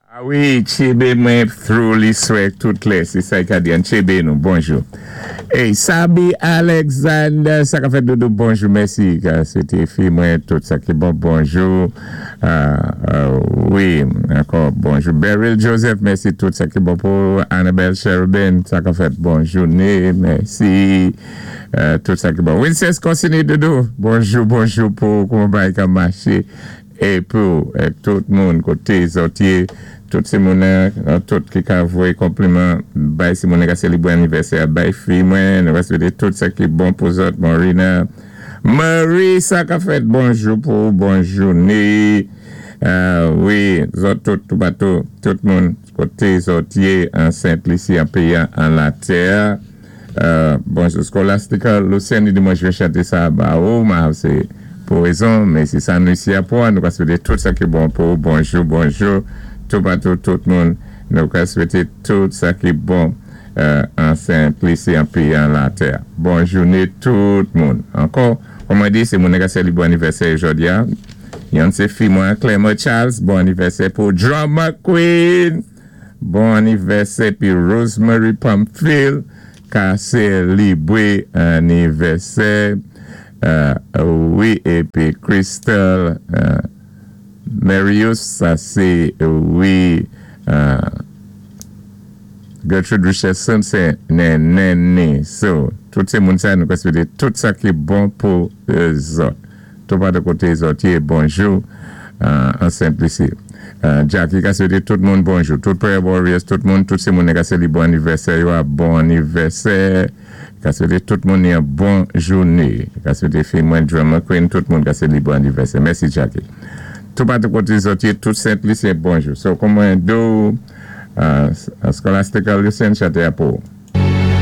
A wi, tchébé mwen through li swè tout lè, sé sa i ka di, an tchébé nou, bonjou. Ey, Sabi Alexander, sa ka fèt, doudou? Bonjou, mèsi, ka swété fi mwen tout sa ki bon, bonjou. Wi, ankò bonjou. Beryl Joseph, mèsi, tout sa ki bon pou Annabelle Cherubin, sa ka fèt, bonjouné, mèsi, tout sa ki bon. Wincest Consini, doudou, bonjou, bonjou pou kouman bagay ka maché. É pou tout moun koté zòt yé, tout sé moun tout ki ka voyé konpliman bay sé moun ka sélébré anivèsè bay fi mwen, nou va swété tout sa ki bon pou zòt. Morina Marie, sa ka fèt, bonjou pou ou, bon jouné. Wi, zòt tout toupatou, tout moun koté zòt yé an Sent Lisi, an péyi an latè. Bonjou Scholastica Lucienne, li di mwen jwe chante sa ba ou ma se pou rezon men se sa nou isi a pou nou ka swete tout sa ki bon pou ou. Bonjou, bonjou toupatou, tout moun nou ka swete tout sa ki bon an Sent Lisi, an peyi an latè. Bon joune tout moun ankò. Kòm mwen di, se moun ka selebre anivèsè jodi a. Yon se fi mwen, Clément Charles, bon anivèsè pou Drama Queen. Bon anivèsè pi Rosemary Pamphile ka selebre anivèsè. Wi, épi Crystal Marius, sa sé, wi, Gertrude Richardson, sé nènèni. So, tout sé moun sa nou ka swété tout sa ki bon pou zòt. Toupatou koté zòt yé, bonjou an Sent Lisi. Jackie ka swété tout moun bonjou. Tout Prayer Warriors, tout moun, tout sé moun ka selebre anivèsè yo a bon anivèsè. Ka swété tout moun yon bon jouné. Ka swété fi mwen Drummer Queen, tout moun ka selebre anivèsè. Mèsi, Jackie. Toupatou koté zòt yé, tout Sent Lisyen, bonjou. So, kòm mwen di w, Scholastica Lucien chanté a pou ou.